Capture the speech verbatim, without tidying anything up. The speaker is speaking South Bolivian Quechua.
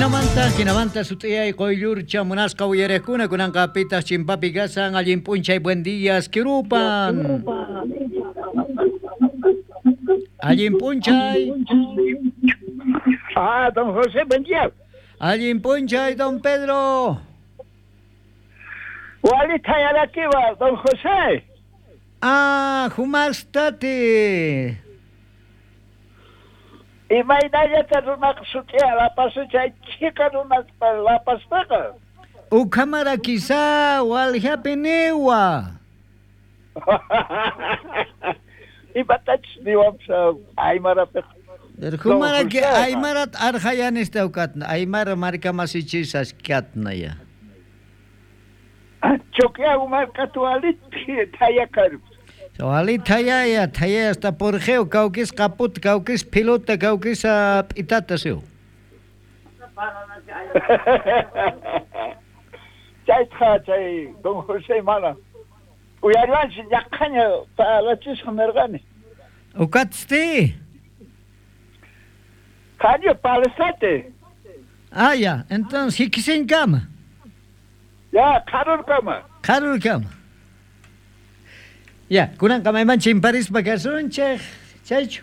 Jinamanta, jinamanta sut'iyay qoyllurcha munasqa uyariqkuna kunanqa pitaq chimpapi kasan allin p'unchay buen días kirupan. Allin p'unchay. Ah, don José, buen día. Allin p'unchay, don Pedro. Walita yarakiwa, don José. Ah, humastati. Imaynallata runaqa sut'iya lapasu chay chhika runaspa lapaspaqa. Ukhamara quizá walhapi niwa. Imatachus niwanpas aymarapiqa. Humara que aymarat arjayanista ukatna, aymara markamasichis katna ya. Choquea markatu alit thayakar. Alit thayaya, thayaya hasta porgeo, kaukis kaput, kaukis pilota, kaukis p'itata siu. Chayta chay don José mana. Uyariwanchis llaqhaña palachisqa nirqani. Ukatsti. Qaño palesate. Ah, ya, entonces hikisinkama. Ya, qarurkama. Qarurkama. Ya, kunanqa mayman chimparispa kasunchik, chaychu.